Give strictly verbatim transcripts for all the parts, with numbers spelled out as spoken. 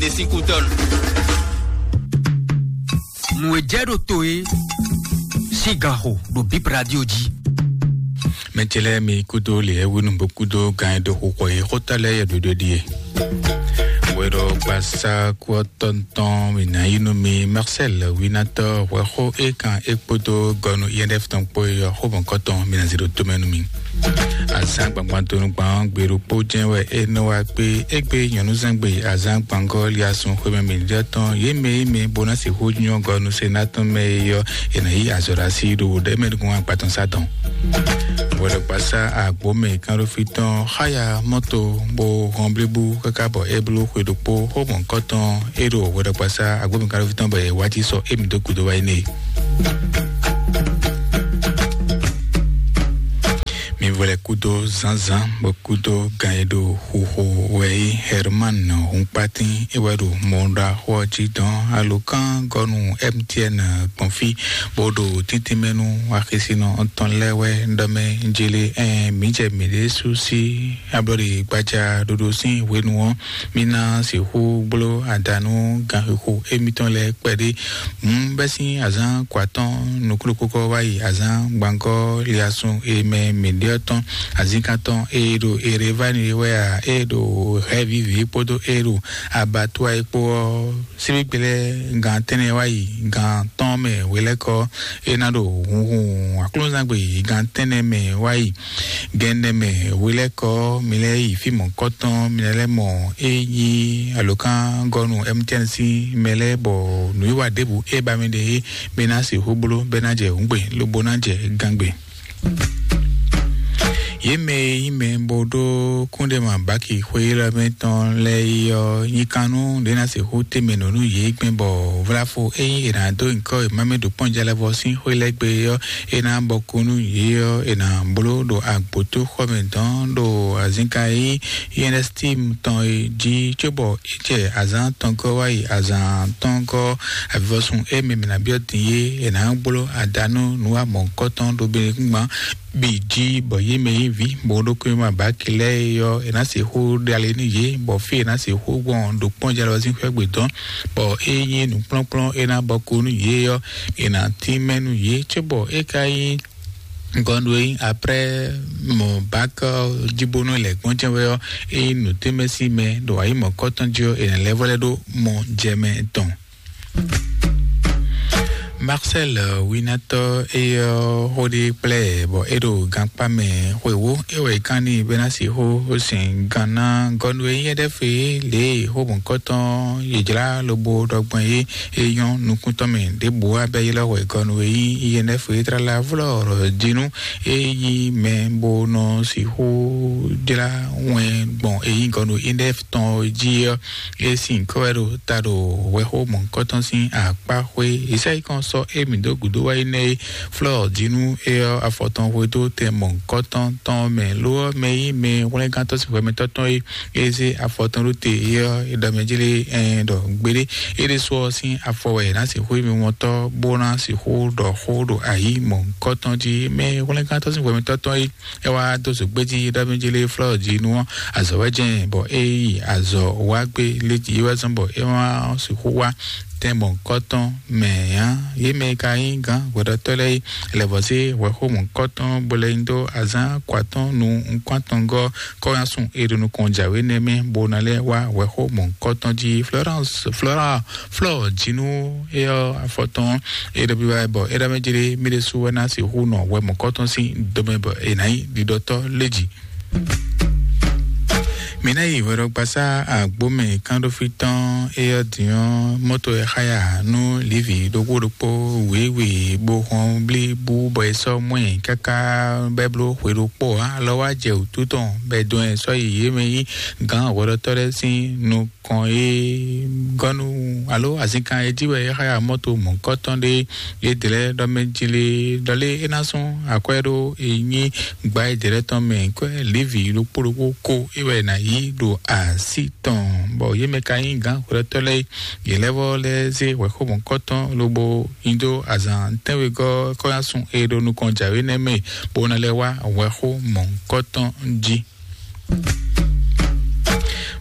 Esíkútɔ́nù. Nǔ e jɛ ɖo to é sín ganxo ɖo Bip Radio jí. Mɛ ce lɛ́ɛ mi kúdó lě e wínú bó kúdó gan e ɖo xixɔ e xótá lɛ́ɛ yɛ ɖoɖo ɖíe. Wɛɖɔ gbasa kú ɔ́ tɔntɔn mi ná yí nú mi Marcel Winatɔ hwɛxó é kan é kpódó gɔnu I N F tɔn kpó é ɔ́ xó mɔ̌kɔtɔn mi ná zé ɖo tomɛ nú mi. Azǎn gbangban donu gbɔn gbe ɖokpó jɛ́n wɛ é nɔ wá gbé égbé nyɔ̌núzɛ́ngbe azǎn gbangɔ́ liasun xwemɛ mǐɖiɖɔ tɔn yě mɛ e mɛ bó ná sixú nyɔ́ gɔnu se ná tɔn mɛ é ɔ́, è nǎ yí azɔ̌ ɖo así ɖo ɖɛ̌mɛ nukún agbatɔn sá dɔn. Wɛɖɔgbasá agbǒmɛ kánɖófí tɔn xáya mɔ́to bó hɔn blíbú káká bɔ é bló xwe ɖokpó xó mɔ̌kɔtɔn é ɖo wɛɖɔgbasá agbǒmɛ kánɖófí tɔn bɔ è wá jí sɔ émí dó gúdo wá yi n'i. Mi vɔ lɛ kúdó zǎnzǎn bɔ kúdó gan e ɖo xuxo wɛ é Herman Hunkpatín é wɛ ɖo mɔɖaxó ɔ́ jí dɔn alokán gɔnu M T N gbɔn fí bó ɖo tíntín mɛ nú axisínɔ tɔn lɛ́ɛ wɛ ɖɔ mɛ jélé ɛn mǐ jɛ mǐɖée sú sí ablɔɖe gbaja ɖoɖo sín hwenu ɔ́, mí ná sixú bló adǎ nú ganxixo émítɔn lɛ́ɛ kpɛɖé. Hǔn bɛ́ sín azǎn kɔ atɔ́ɔ́n nukúnnukúnkɔ wá yi azǎn gbangɔ́ liasun e mɛ mǐɖé ɔ́ tɔn azínkán tɔn e ɖo Erevani wɛ a, e ɖo Hɛvívi kpódó e ɖo Abatúa é kpó ɔ́, síbígbe lɛ́ɛ gan tɛ́nnɛ wá yi gan tɔn mɛ hwelɛ́kɔ é ná ɖo hunhun aklúnɔzán gbe yi gan tɛ́nnɛ mɛ wá yi gɛnɛ mɛ hwelɛ́kɔ mi lɛ́ yi fí mɔ̌kɔtɔn mi lɛ́ mɔ é nyí alokán gɔnu M T N sín mɛ lɛ́ɛ bɔ nǔwiwa ɖěbǔ é ba mi ɖe é mi ná sixú bló bɛ́ ná jɛ hǔngbe lobo ná jɛ gángbe. Yě mɛ e nyí mɛ bó ɖó kúnɖéma báki xwé élɔ́ mɛ tɔn lɛ́ɛ é ɔ́, nyikannú ɖě ná sixú tɛ́nmɛ nǔ nú yě gbɛn bɔ vláfo ényí è nǎ dó nyǐkɔ e mamɛ ɖo kpɔ́njalɛvɔ sín xwé lɛ́ɛ gbe é ɔ́, è nǎ bɔ kú nú yě ɔ́, è nǎ bló ɖo agbǒtóxɔmɛ dɔn ɖo azǐnka e nyí I N S T tɔn é jí cóbɔ é jɛ azǎn atɔngɔ́ wá yi azǎn atɔngɔ́ avivɔsun e mɛ mǐ ná byɔ́ din é, è nǎ gbló adanu nǔ wa mɔ̌hunkɔtɔn ɖo Benɛkúngban bǐ jí, bɔ yě mɛ e nyí vǐ bó ɖó kúnyɛ́mɔ abǎki lɛ́ɛ é ɔ́, è nǎ sixú ɖe ali nú yě, bɔ fí è nǎ sixú gbɔn ɖo kpɔ́njalɔ sín xwé gbe dɔn, bɔ é nyí nǔkplɔ́nkplɔ́n é ná bɔ kú nú yě ɔ́, è nǎ tínmɛ nú yě, cóbɔ é ka nyí gɔnu e nyí après mɔ bákɔ jíbónú lɛ̌ gbɔn jɛ́n wɛ ɔ́, é nyí nǔtɛ́mɛsí mɛ ɖo ayǐ mɔ̌kɔtɔn jí ɔ́, è nǎ lɛ́ vɔ lɛ́ ɖó mɔ jɛ mɛ tɔn. Marcel Winatɔ é ɔ́ xó ɖé kplá ɛ bɔ é ɖo gankpá mɛ xwewó é wɛ é kán n'i bɛ́ ná sixú sin gan ná gɔnu e nyí ɛɖɛ́ fě lě e xó mɔ̌kɔtɔn yě jlá lobo ɖɔ gbɔn é é nyɔ́ nukún tɔn mɛ ɖěbǔ wá bɛ́ ylɔ́ hwɛ gɔnu e nyí I N F é tlala vlɔ́ ɖɔ jí nú é nyí mɛ bó nɔ sixú jlá wɛn gbɔn e nyí gɔnu I N F tɔn jí ɔ́, é sin kɔ́ wɛ ɖo ta ɖo hwɛxó mɔ̌hunkɔtɔn sín akpá xwé. Yě sɛ́ yi kɔn sɔ́ émí dó gǔdo wá yi nɛ́ é flɔ́ jí nú é ɔ́ afɔ tɔn hwedó tɛn mɔ̌hunkɔtɔn tɔn mɛ. Lo ɔ́, mɛ e nyí mɛ hwlɛ́ngántɔ́ sín hwɛmɛtɔ́ tɔn é é zé afɔ tɔn ɖó te é ɔ́, é ɖɔ mɛ jí lé ɛn ɖɔ gbeɖé é ɖésú ɔ́ sín afɔ wɛ è nǎ sixú nyí mimɔtɔ́ bó ná sixú ɖɔ xó ɖo ayǐ mɔ̌hunkɔtɔn jí. Mɛ hwlɛ́ngántɔ́ sín hwɛmɛtɔ́ tɔn é é wá dó zǒgbé jí é ɖɔ mɛ jí lé flɔ́ jí nú ɔ́ azɔ̌ wɛ jɛ́n bɔ é yi azɔ̌ wá gbé lé jí é wɛ zɔ́n bɔ é wá sixú wá tɛn mɔ̌hunkɔtɔn mɛ ǎ. Yě mɛ e ka nyí gǎn hwɛɖɔtɔ́ lɛ́ɛ é lɛ̌vɔ́ zé hwɛxó mɔ̌hunkɔtɔn bó lɛ́ nyi dó azǎn kɔ atɔ́ɔ́n nú nukún atɔngɔ́ kɔ́ ná sun e ɖo nukɔn jǎwe nɛ́ mɛ bó ná lɛ́ wá hwɛxó mɔ̌hunkɔtɔn jí. Florence Flora Flɔ jí nú é ɔ́ afɔtɔn é ɖɔ bí wá bɔ é ɖɔ mɛ jlé mí ɖésú wɛ ná sixú nɔ hwɛ mɔ̌hunkɔtɔn sín domɛ bɔ è nǎ nyí ɖiɖɔtɔ́ lé jí. Mǐ ná yi hwɛɖɔgbasá agbómɛ kánɖófí tɔn é ɔ́ din ɔ́, mɔ́to e xáya nú Livi ɖokpó ɖokpó wěwe bó hɔn blíbú bɔ è sɔ́ mɔ ɛ káká bɔ é bló xwe ɖokpó ǎ. Alɔ wá jɛ wǔtu tɔn bɔ è dɔn ɛ sɔ́ yi yě mɛ yí gǎn hwɛɖɔtɔ́ lɛ́ɛ sín nukɔn e gɔ́ nú alo azǐnkan e jí wɛ é xáya mɔ́to mɔ̌hunkɔtɔn ɖé. Yědɛɛ lɛ́ɛ ɖɔ mɛ jí lé ɖɔ lé é ná sún akwɛ́ ɖó e nyí gba yědɛɛ lɛ́ɛ tɔn mɛ kwɛ́ Levi ɖokpó ɖokpó ko é wɛ è nǎ yí ɖo así tɔn, bɔ yě mɛ ka nyí gǎn hwlɛ́tɔ́ lɛ́ɛ. Yě lɛ́ vɔ lɛ́ zé hwɛxó mɔ̌hunkɔtɔn lobo nyi dó azǎn tɛ́nwegɔ́ kɔ́ ná sun e ɖo nukɔn jǎwe nɛ́ mɛ, bó ná lɛ́ wá hwɛxó mɔ̌hunkɔtɔn jí.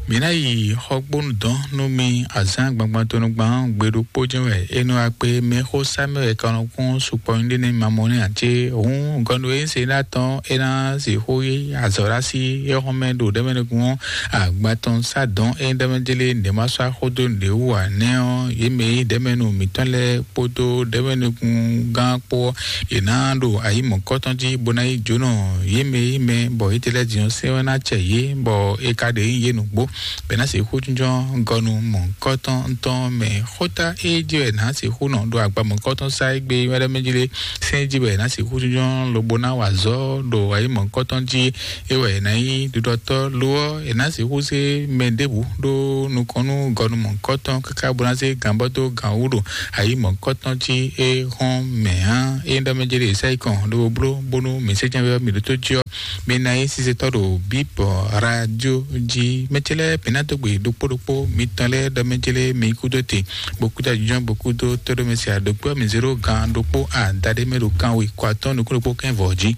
Mǐ ná yi xɔgbónu dɔn nú mi azǎn gbangban tɔnugban gbe ɖokpó jɛ́n wɛ é nɔ wá kpé mɛ xó sá mɛ wɛ kanɔkún sukpɔ nyí ɖé nɛ́ ma mɔ nɛ́ ǎ cé hǔn gɔnu e se ná tɔn é ná sixú yí azɔ̌ ɖo así é xɔn mɛ ɖo ɖɛmɛ nukún agban tɔn sá dɔn é ɖɛmɛ jélé nɛ̌ ma sɔ́ axó dó nǔɖé wú ǎ nɛ́ ɔ́ yě mɛ yí ɖɛmɛ nu mǐtɔn lɛ́ɛ kpódó ɖɛmɛ nukún gán kpó ɔ́, yě ná ɖo ayǐ mɔ̌kɔtɔn jí bó ná yí jǒnɔ yě mɛ yí mɛ bɔ yě tɛ lɛ́ɛ din ɔ́ sɛ́n wɛ ná cɛ yě bɔ é ka ɖe nyí yě nǔgbó. Bɛ ná sixú jínjɔ́n gɔnu mɔ̌kɔtɔn tɔn mɛ xóta é jí wɛ ná sixú nɔ ɖo agba mɔ̌kɔtɔn sá égbé wɛ́ɖɛ́ mɛ jí lé sɛ́n jí wɛ ná sixú jínjɔ́n lobo ná wa azɔ̌ ɖo ayǐ mɔ̌kɔtɔn jí é wɛ ná nyí ɖiɖɔtɔ́ lo ɔ́, è nǎ sixú zé mɛ ɖěbǔ ɖó nukɔn nú gɔnu mɔ̌kɔtɔn káká bó ná zé gǎnbɔ́ dó gǎn wú ɖo ayǐ mɔ̌kɔtɔn jí é hɔn mɛ ǎ. É ɖɔ mɛ jɛ ɖe sɛ́ kɔn ɖo bló bónú mǐ sɛ́ jɛ́n wɛ mǐ ɖótó jí ɔ́, mi ná nyí sisetɔ́ ɖo bíp radio jí. Mɛ ce lɛ́ɛ bǐ ná dó gbe ɖokpó ɖokpó mitɔn lɛ́ɛ ɖɔ mɛ ce lɛ́ɛ mi kúdó te, bó kúdó ajínjɔ́n, bó kúdó tóɖómɛsí aɖókpé ɔ́, mi zé ɖó gǎn ɖokpó adaɖé mɛ ɖo kanwe kɔ atɔ́ nukún ɖokpó kɛ́n vɔ̌ jí.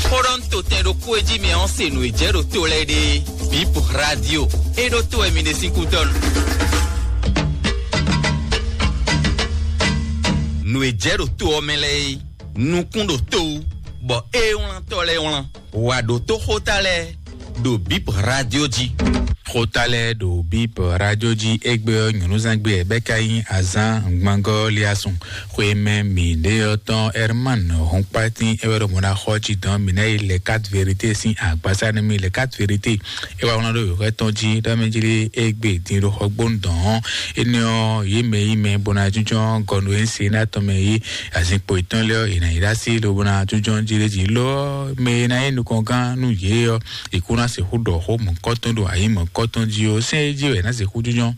Xó ɖɔ un to tɛn ɖokpó e jí mi ɔ́ se nǔ e jɛ ɖo to lɛ́ɛ ɖe. Bip radio. É ɖó to wɛ mi ɖe sín kútɔ́ nu. Nǔ e jɛ ɖo to ɔ́ mɛ lɛ́ɛ é, nukún ɖo to wú, bɔ é wlán tɔ́ lɛ́ɛ wlán. Wǎ ɖótó xóta lɛ́ɛ ɖo bip radio jí. Xóta lɛ́ɛ ɖo bip radio jí égbé ɔ́, nyɔ̌núzán gbé ɛ bɛ́ ka nyí azán ngbangɔ́ liasun. Xwé mɛ mǐ ɖé ɔ́ tɔn Herman Hɔnkpátín é wɛ ɖo mɔ̌ ná xɔ jí dɔn mǐ ná yi lɛ quatre vérité sín agbásá nú mì. Lɛ quatre vérité é wá wlán ɖó yǒxɔ tɔn jí ɖɔ mɛ jí lé égbé dín ɖo xɔgbónu dɔn ɔ́. Énɛ́ ɔ́, yě mɛ yí mɛ bó ná jínjɔ́n gɔnu e se ná tɔn mɛ yí azinkpo yětɔn lɛ́ɛ ɔ́, è nǎ yi ɖó así lobo ná jínjɔ́n jí lé jí ló ɔ́, mɛ e ná nyí nukɔngán nú yě ɔ́, è kú ná sixú ɖɔ xó mɔ̌kɔtɔn ɖo ayǐ mɔ̌kɔtɔn jí ó. Sɛ́n é jí wɛ è nǎ sixú jínjɔ́n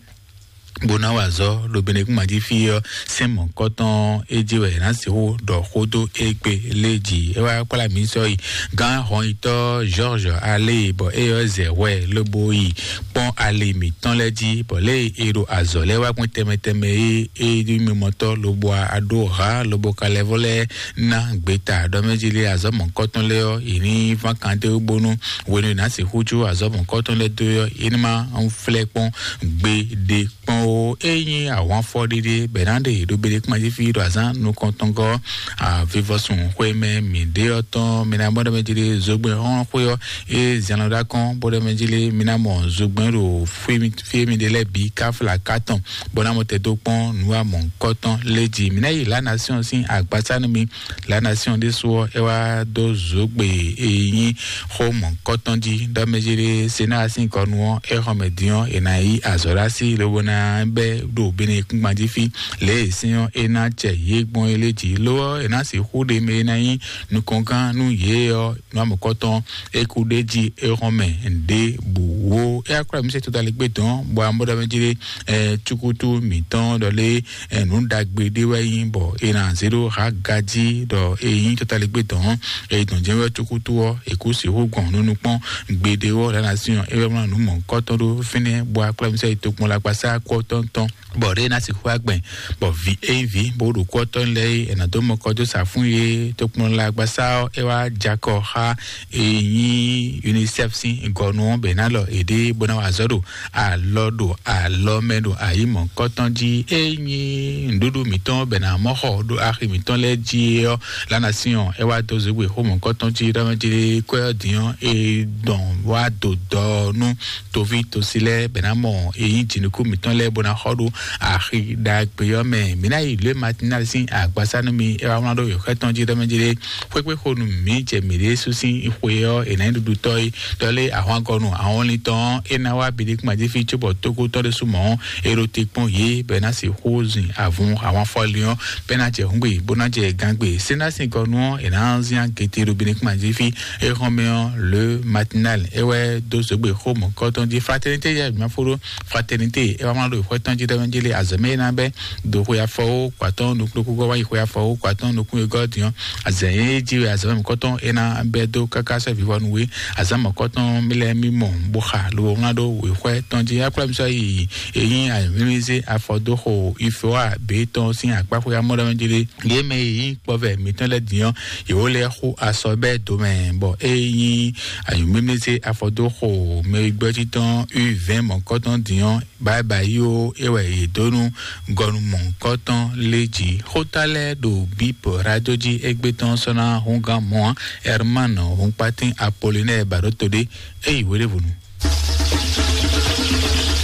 bó ná wa azɔ̌ ɖo Benekúnmají fí ɔ́, sɛ́n mɔ̌kɔtɔn é jí wɛ è nǎ sixú ɖɔ xó dó égbé lé jí. É wá kplá mǐ sɔ́ yi gán hɔnyitɔ́ George Alé, bɔ é ɔ́ zɛ hwɛ lobo yi kpɔ́n ali mǐtɔn lɛ́ɛ jí, bɔ lě e è ɖo azɔ̌ lɛ́ɛ wá gbɔn tɛnmɛ tɛnmɛ é é ɖi mimɔtɔ́ lobo aɖó ha lobo ka lɛ́ vɔ lɛ́ɛ ná gbeta ɖɔ mɛ jí lé azɔ̌ mɔ̌kɔtɔn lɛ́ɛ ɔ́, yě ní ván kan dó bónú hwenu e è nǎ sixú jó azɔ̌ mɔ̌kɔtɔn lɛ́ɛ dó ɔ́, é ní ma flɛ́ kpɔ́n gbeɖé kpɔ́n ó. É nyí ahwanfɔ ɖéɖé bɛ̌ ná ɖe ɖo Benekúnmají fí ɖo azǎn nukɔntɔngɔ́ avivɔsun xwé mɛ mǐ ɖe ɔ́ tɔn. Mi ná mɔ ɖɔ mɛ jí lé zogbɛ́n xɔ́n xwé ɔ́, é zɛn lɔ ɖó akɔ́n bó ɖɔ mɛ jí lé mi ná mɔ zogbɛ́n ɖo fí e mi ɖe lɛ́ɛ bǐ káfla kátɔn bó ná mɔ tɛ́ dó kpɔ́n nǔ amɔ̌kɔtɔn lé jí. Mi ná yi La Nation sín agbasá nú mi. La Nation ɖésú ɔ́, é wá dó zǒgbe e nyí xó mɔ̌kɔtɔn jí ɖɔ mɛ jí lé se ná sín kɔ nu ɔ́, é xɔ mɛ dín ɔ́, è nǎ yí azɔ̌ ɖó así lobo ná bɛ́ ɖo Benekúnmají fí. Lě e sín ɔ́, é ná jɛ yě gbɔn é lé jí. Lo ɔ́, è nǎ sixú ɖe mɛ e ná nyí nukɔngán nú yě ɔ́, nú amɔ̌kɔtɔn é kú ɖ'é jí é xɔ́n mɛ ɖěbǔ ó. É wá kplá mǐ se todalígbé dɔn, bɔ amɔ̌ ɖɔ mɛ jí lé ɛ cukutu mǐtɔn ɖɔ lé ɛ nǔ ɖagbe ɖé wɛ nyí, bɔ è nǎ zé ɖó ha gají ɖɔ è nyí todalígbé dɔn. È dɔn jɛ́n wɛ cukutu ɔ́, è kú sixú gbɔn nú nukpɔ́n gbeɖé ɔ́ ɖǎ ná syɔ́n é wɛ mlá nǔ mɔ̌kɔtɔn ɖó fínɛ́, bɔ akplámísá yi tokpɔn lagbasá kú ɔ́ tɔn tɔn. Bɔ ɖé ná sixú agbɛn, bɔ vǐ ényí vǐ bó ɖo kú ɔ́ tɔn lɛ́ɛ é, è nǎ dó mɔkɔ dó sa fún yé tokpɔn lagbasá ɔ́, é wá jakɔ xá e nyí UNICEF sín gɔnu ɔ́ bɛ ná lɔ èɖée bó ná wa azɔ̌ ɖo alɔ ɖo alɔ mɛ ɖo ayǐ mɔ̌kɔtɔn jí. E nyí nǔɖuɖu mǐtɔn bɛ ná mɔ xɔ ɖo axi mǐtɔn lɛ́ɛ jí ɔ́, lánà sín ɔ́, é wá dó zǒgbé xó mɔ̌kɔtɔn jí ɖɔ mɛ jí kwɛ ɔ́ dín ɔ́, é dɔn wá dó dɔ nú toví tosi lɛ́ɛ bɛ ná mɔ e nyí jǐnukú mǐtɔn lɛ́ɛ bó ná xɔ ɖo axi ɖagbe ɔ́ mɛ. Mǐ ná yi lě matinali sín agbasá nú mi, é wá wlán ɖó yǒxɛ tɔn jí ɖɔ mɛ jí ɖé. Xwékpé xo nú mǐ jɛ mǐ ɖésú sín xwe ɔ́, è nǎ nyí ɖuɖutɔ́ é. Ɖɔ lé ahwangɔnu ahɔnlin tɔn ɔ́, é ná wá biɖé kún ajífi cóbɔ tókó tɔn ɖésú mɔ̌ ɔ́, é ɖo te kpɔ́n yě bɔ é ná sixú zin avun ahwanfɔlin ɔ́, bɔ é ná jɛ hǔngbe bó ná jɛ gangbe. Sénásín gɔnu ɔ́, è nǎ zín agete ɖo biɖé kún ajífi. É xɔ́n mɛ ɔ́, le matinal é wɛ dó zǒgbe xó mɔ̌kɔtɔn jí. Fraternité yɛ mǐ ma fó ɖó. Fraternité é wá wlán ɖo xwɛ tɔn jí ɖɔ mɛ jí lé azɔ̌ mɛ é ná bɛ́ do xwe afɔ ó kɔ atɔn nukúnukú gɔ́ wá yi xwe afɔ ó kɔ atɔn nukún e gɔ́ din ɔ́, azɛ̌ e jí wɛ azɔ̌ mɛ mɔ̌kɔtɔn é ná bɛ́ dó káká sɔ́ vivɔnu wé. Azǎn mɔ̌kɔtɔn mi lɛ́ɛ mi mɔ bó pa lo wlán ɖó wěxwɛ́ tɔn jí. Akplámísɔ yi e nyí ayǐmlímlízé afɔdóxo ifewa bětɔn sín akpáxwé amɔ́ɖɔmɛ jí ɖé. Yě mɛ e nyí kpɔvɛ mǐtɔn lɛ́ɛ din ɔ́, yě wó lɛ́ xú asɔ bɛ́ do mɛ, bɔ e nyí ayǐmlímlízé afɔdóxo mɛ gbɛ́ títɔn u vɛ̌ɛn mɔ̌kɔtɔn din ɔ́, báyibáyi ó, é wɛ yě dó nú gɔnu mɔ̌hunkɔtɔn lé jí. Xóta lɛ́ɛ ɖo bíp radio jí égbé tɔn sɔ́ ná húngán mɔ̌ ǎ. Herman Húnkpátín Apolinɛ́ɛ Baɖótodé, é yi hweɖěvɔ́nu.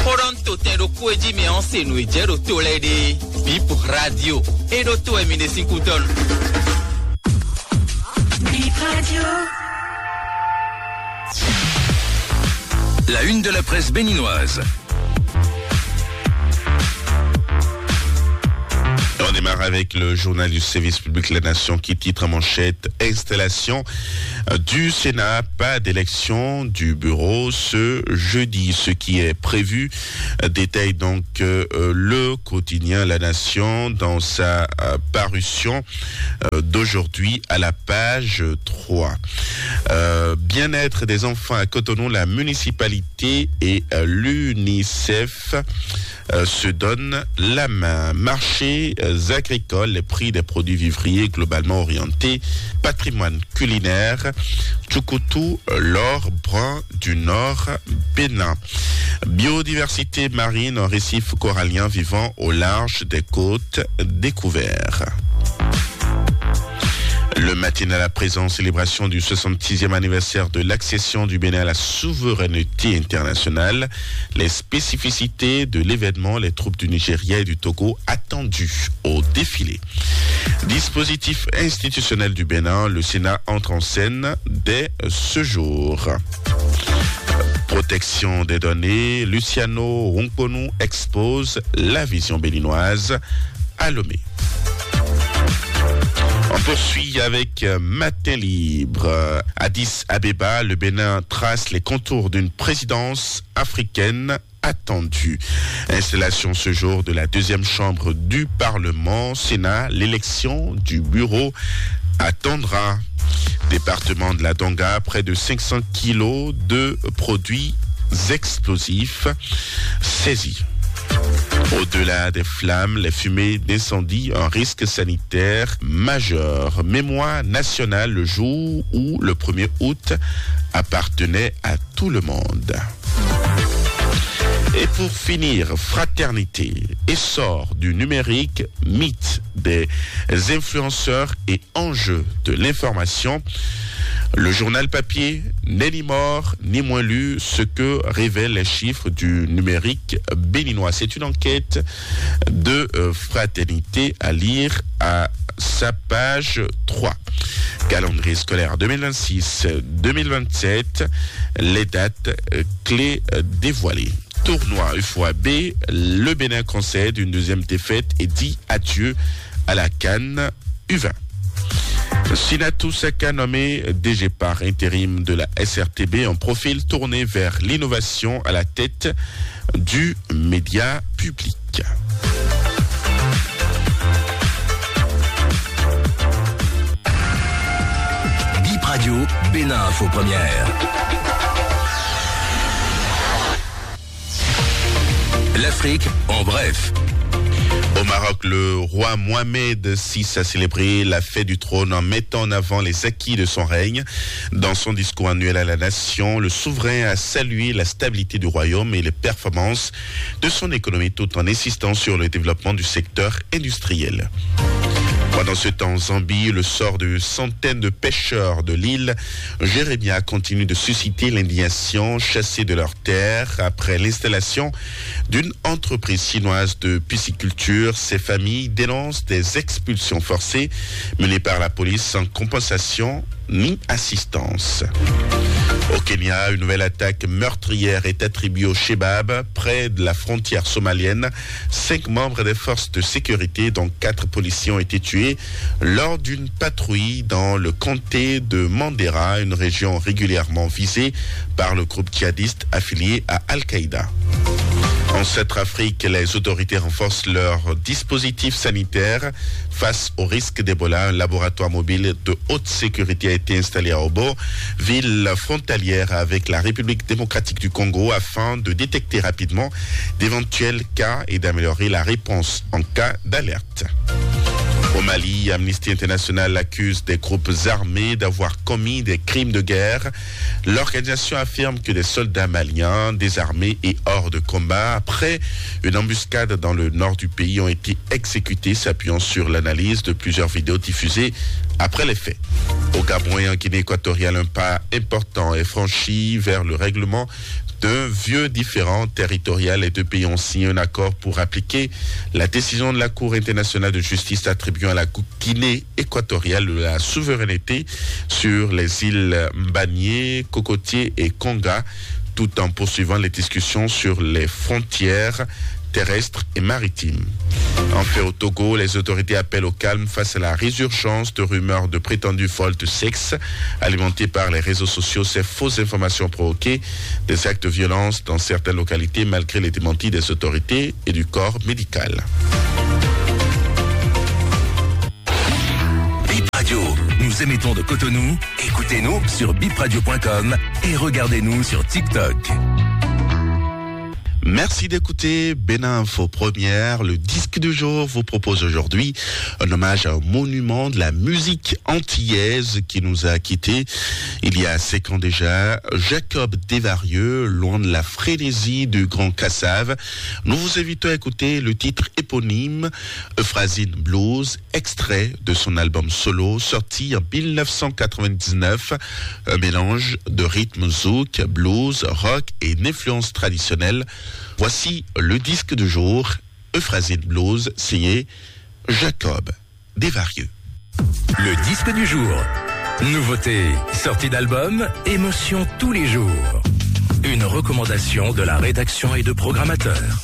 Xó ɖɔ un to tɛn ɖokpó e jí mi ɔ́ se nǔ e jɛ ɖo to lɛ́ɛ ɖe. Bíp radio, é ɖó to wɛ mi ɖe sín kútɔ́nu. Bíp radio. La une de la presse béninoise. On démarre avec le journal du service public La Nation qui titre en manchette: Installation, euh, du Sénat, pas d'élection du bureau ce jeudi, ce qui est prévu, euh, détaille donc, euh, euh, le quotidien La Nation dans sa, euh, parution, euh, d'aujourd'hui à la page trois. Euh, bien-être des enfants à Cotonou, la municipalité et, euh, l'UNICEF, euh, se donnent la main. Marchés, euh, agricoles, les prix des produits vivriers globalement orientés, patrimoine culinaire, Tchoukoutou, euh, l'or brun du Nord Bénin. Biodiversité marine, un récif corallien vivant au large des côtes découvert. Le matin à la présent, célébration du soixante-sixième anniversaire de l'accession du Bénin à la souveraineté internationale. Les spécificités de l'événement, les troupes du Nigeria et du Togo attendues au défilé. Dispositif institutionnel du Bénin, le Sénat entre en scène dès ce jour. Protection des données, Luciano Hunkponu expose la vision béninoise à Lomé. On poursuit avec, euh, Matin Libre. Addis Abeba, le Bénin trace les contours d'une présidence africaine attendue. Installation ce jour de la deuxième chambre du Parlement, Sénat, l'élection du bureau attendra. Département de la Donga, près de cinq cents kilos de produits explosifs saisis. Au-delà des flammes, les fumées d'incendie, un risque sanitaire majeur. Mémoire nationale, le jour où le premier août appartenait à tout le monde. Et pour finir, Fraternité, essor du numérique, mythe des influenceurs et enjeux de l'information. Le journal papier n'est ni mort ni moins lu, ce que révèlent les chiffres du numérique béninois. C'est une enquête de, euh, Fraternité à lire à sa page trois. Calendrier scolaire deux mille vingt-six deux mille vingt-sept, les dates, euh, clés, euh, dévoilées. Tournoi U F O A B, le Bénin concède une deuxième défaite et dit adieu à la CAN U vingt. Sinatou Saka nommé D G par intérim de la S R T B, un profil tourné vers l'innovation à la tête du média public. Bip Radio, Bénin Info Première. L'Afrique en bref. Au Maroc, le roi Mohamed six a célébré la fête du trône en mettant en avant les acquis de son règne. Dans son discours annuel à la nation, le souverain a salué la stabilité du royaume et les performances de son économie tout en insistant sur le développement du secteur industriel. Pendant ce temps, en Zambie, le sort de centaines de pêcheurs de l'île Jérémia continue de susciter l'indignation. Chassés de leurs terres après l'installation d'une entreprise chinoise de pisciculture, ces familles dénoncent des expulsions forcées menées par la police sans compensation ni assistance. Au Kenya, une nouvelle attaque meurtrière est attribuée au Shebab, près de la frontière somalienne. Cinq membres des forces de sécurité, dont quatre policiers, ont été tués lors d'une patrouille dans le comté de Mandera, une région régulièrement visée par le groupe djihadiste affilié à Al-Qaïda. En Centrafrique, les autorités renforcent leur dispositif sanitaire face au risque d'Ebola. Un laboratoire mobile de haute sécurité a été installé à Obo, ville frontalière avec la République démocratique du Congo, afin de détecter rapidement d'éventuels cas et d'améliorer la réponse en cas d'alerte. Au Mali, Amnesty International accuse des groupes armés d'avoir commis des crimes de guerre. L'organisation affirme que des soldats maliens désarmés et hors de combat, après une embuscade dans le nord du pays, ont été exécutés, s'appuyant sur l'analyse de plusieurs vidéos diffusées après les faits. Au Gabon et en Guinée équatoriale, un pas important est franchi vers le règlement d'un vieux différend territorial. Les deux pays ont signé un accord pour appliquer la décision de la Cour internationale de justice attribuant à la Guinée équatoriale la souveraineté sur les îles Mbanié, Cocotier et Conga, tout en poursuivant les discussions sur les frontières terrestres et maritimes. Enfin, au Togo, les autorités appellent au calme face à la résurgence de rumeurs de prétendus vols de sexe alimentées par les réseaux sociaux. Ces fausses informations ont provoqué des actes de violence dans certaines localités, malgré les démentis des autorités et du corps médical. Bip Radio, nous émettons de Cotonou. Écoutez-nous sur bip radio point com et regardez-nous sur TikTok. Merci d'écouter Bénin Info Première. Le disque du jour vous propose aujourd'hui un hommage à un monument de la musique antillaise qui nous a quittés il y a cinq ans déjà, Jacob Desvarieux, loin de la frénésie du Grand Kassav. Nous vous invitons à écouter le titre éponyme, Euphrazine Blues, extrait de son album solo sorti en mille neuf cent quatre-vingt-dix-neuf, un mélange de rythme zouk, blues, rock et d'influences traditionnelles. Voici le disque du jour, Euphrazine Blues, signé Jacob Desvarieux. Le disque du jour. Nouveauté, sortie d'album, émotion tous les jours. Une recommandation de la rédaction et de programmateurs.